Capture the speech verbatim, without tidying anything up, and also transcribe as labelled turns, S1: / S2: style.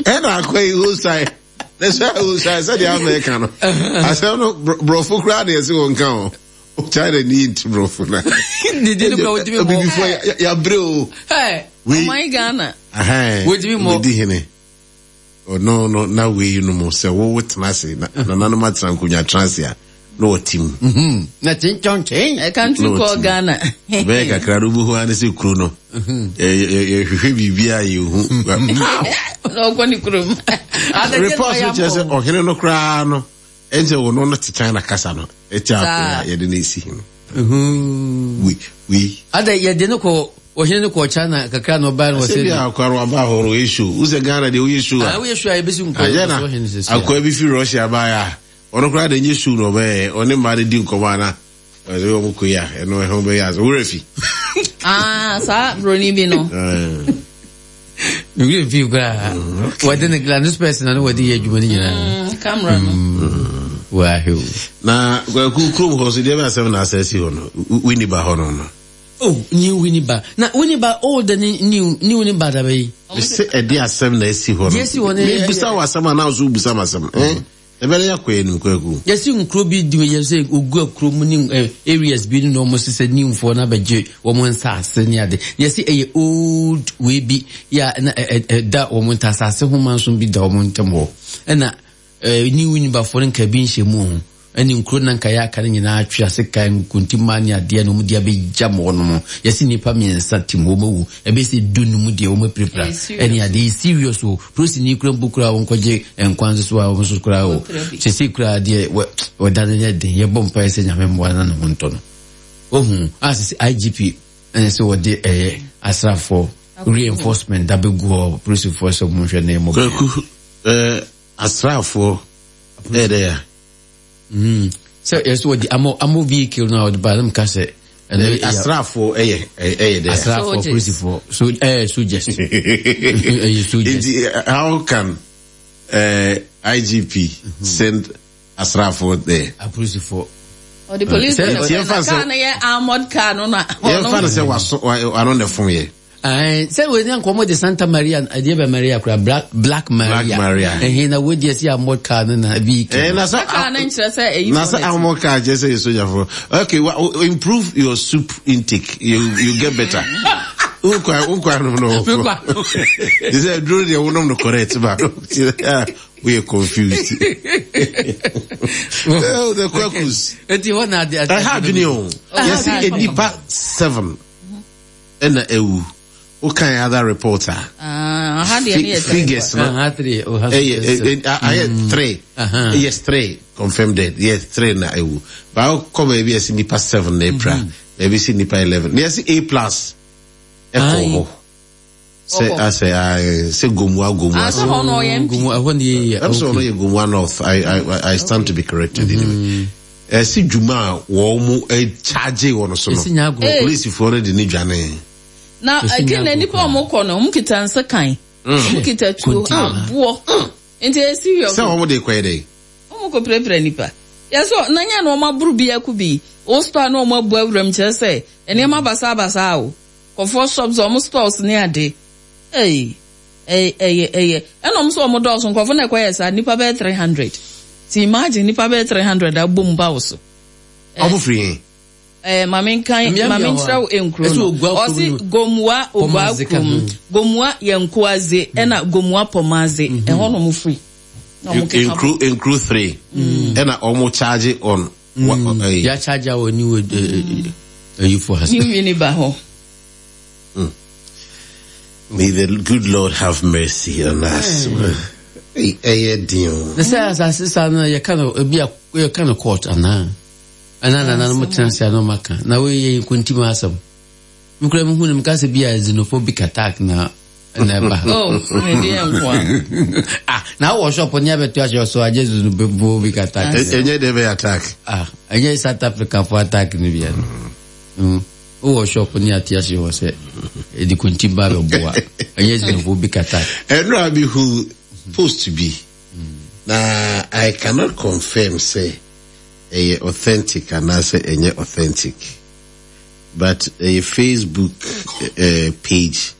S1: Ɛna akɔ yi hosae na sɛ hosae sɛdeɛ Amɛka no asɛm no borɔfo koraa deɛ ɛsɛ wɔn ka o. China ni nti borɔfo na
S2: didi no kora wotumi mɔ.
S1: Abibifoɔ yɛabrɛ o.
S3: Ɔman Ghana
S2: wotumi mɔ.
S1: Wedi hene ɔno no na wei no mu sɛ wowo tena ase na nananom atena nkonnwa tena ase a na ɔte mu.
S2: Na kyenkyenkyen.
S3: A country called Ghana.
S1: Bɛyɛ kakra no wobɛhu ane sɛ kuro no yɛhwehwɛ biribi a yɛhu.
S3: Na ɔkɔ ne kurom.
S1: Report no kyerɛ sɛ ɔhene no koraa no ɛnkyɛ wɔ no no te China kasa no ɛkyɛ akɔ a yɛde no esi hene. Wei wei.
S2: Ada yɛde no kɔ ɔhene no kɔ China kakra na ɔbaa no wɔ sɛ.
S1: Sɛ bi akɔ no aba hɔ no ɔyɛ show. Wosɛ Ghana deɛ woyɛ show a.
S2: Woyɛ show a yɛbɛsi nkɔ.
S1: Ayɛ na akɔ bi fi Russia baeɛ a ɔno koraa de nye show na ɔbɛyɛ ɔne mmaa no di nkɔmɔ ana ɔsɛ wɔn kɔ yi a ɛno ɛho bɛyɛ asɛ wura fi.
S3: Ah, saa broni bi no.
S2: Wura fi koraa. Wɔde ne gla no spɛs na no wɔde yɛ adwuma no nyinaa.
S3: Camera no.
S2: Wahwɛ o.
S1: Na kwaku kurom hɔ so deɛ bɛ asɛm na asɛ si hɔ no Winneba hɔ no no.
S2: Oh, new Winneba. Na Winneba old ne new new ne ba da bɛyi.
S1: Sɛ ɛde asɛm na asi hɔ no.
S2: Deɛ asi hɔ no.
S1: Mebusa wɔ asɛm a na nso wobusa m asɛm. Eh? Ɛbɛrɛ yɛ akɔ anim kwaku.
S2: Yɛsi nkuro bi di yɛ sɛ ogu akuro mu ne areas bi no na wɔn sisɛ newfoɔ na abɛgye wɔn nsaase ne ade. Yɛsi ɛyɛ old wei bi yɛ na ɛda wɔn nta asase ho manso bi da wɔn ntam hɔ. Ɛna new Winnebafoɔ no nka bi nhyɛ mu ho. Ɛne nkuro na nka yɛ aka no nyinaa atwe ase kan nkontimmaa ne adeɛ na wɔn de abɛgya mo hɔ nom. Yɛsi nnipa mmiɛnsa tim wɔn awu. Ɛbɛsi du num deɛ wɔn apirapira. Ɛne adeɛ yɛ serious o. Polisi kura mpo kura wɔn kɔgye nkwan nso so a wɔn nso kura o. Sese kura adeɛ wɔ wɔda no yɛ den. Yɛbɔ mpa sɛ Nyame mmoa na ne ho ntɔ no. Ohun a sese I G P ɛne sɛ wɔde ɛyɛ asraafoɔ reinforcement da bɛgu hɔ polisifoɔ sɛ wɔn hwɛ na ɛmɔ.
S1: Kwaku ɛɛ asraafoɔ ɛyɛ dɛ ya.
S2: Mm. Sɛ yɛsɛ wɔde amɔ amɔ vehicle no a wɔde ba no ka sɛ
S1: ɛno asraafoɔ ɛyɛ ɛyɛ dɛ
S2: asraafoɔ polisifoɔ so ɛyɛ soldiers ɛyɛ soldiers.
S1: Nti how can uh, I G P mm-hmm. send asraafoɔ there?
S2: Apolisifoɔ.
S3: Ɔde police na kaa no yɛ armored car no na.
S1: Yɛn fa no sɛ waso ano na fom yɛ.
S2: Sɛ wei ne nkɔmmɔ de Santa Maria adeɛ bɛ Maria kora Black, Black Maria.
S1: Black Maria.
S2: Ɛhe na wei deɛ si armored car no na vehicle.
S1: Eh, na sɛ
S3: car no nkyerɛ sɛ ɛyi
S1: na sɛ armored car kyerɛ sɛ yɛ sogyafoɔ. Okay, well, improve your soup intake. You you get better. Nkwa nkwa no no. They say duro deɛ wonom no correct ba. We are confused. Oh, the kwakus.
S2: Eti hɔ na ade ade.
S1: Ɛha adwene o. Yɛsi enipa seven. Ɛna ewu. What kind of other reporter?
S3: Ah, uh,
S1: figures no.
S2: Uh, three. Oh,
S1: eh, eh, I had three.
S2: Uh-huh.
S1: Yes, three confirmed dead. Yes, three na ewu. But I'll come maybe I see nipa seven na April. Maybe see nipa eleven. Yes, A plus. Eko. Say I say I say Gomua Gomua.
S3: Ah, so no
S2: Gomua. When the
S1: I'm sorry, Gomua North. I I I stand to be corrected anyway. Eh, si Juma wo mu e charge wo no so no. Police for the ni dwane.
S3: Na again na nipa omo kɔ no, omo kita nse kan. Omo kita tuo aboɔ. Nti e serious.
S1: Sɛ omo de kɔ dey.
S3: Omo kɔ prepare nipa. Ya so na nya na omo aburu bi akubi. O store na omo abu awuram kyerɛ sɛ nneɛma basa basa o. Kɔfɔ shops omo stores ne ade. Ei. Eh eh eh. Ɛna omo so omo dɔɔso nkɔfo na ɛkɔ yɛ sa nipa bɛyɛ three hundred. Ti imagine nipa bɛyɛ three hundred abom ba wo so.
S1: Omo free.
S3: Eh, mame nkan mame nkyerɛw enkuro no. Ɔsi Gomua Ogua kurom. Gomua Yɛnkoaze ɛna Gomua Pɔmaze. Ɛhɔ na ɔmo firi.
S1: Enkuro enkuro three. Ɛna ɔmo charge on.
S2: Ya charge wɔ new eyifo ha.
S3: New Winneba hɔ.
S1: May the good Lord have mercy on us. Ɛyɛ den o.
S2: Na sɛ asase saa no yɛka no ebi a yɛka no court anaa. Ana na na mo tena se ano maka na we ye nkontim asɛm mkura me hu me ka se bia xenophobic attack na na ba.
S3: Oh, me dey nko.
S2: Ah, na wo shop ni abeto ahye so agye xenophobic attack.
S1: Enye dey be attack.
S2: Ah, enye South Africa for attack ni bia no. Mm. Wo shop ni ate ahye ho se e di kontim ba be boa. Enye xenophobic attack.
S1: Eno abi hu post bi. Na I cannot confirm say ɛyɛ authentic anaasɛ ɛnyɛ authentic, but a Facebook uh, page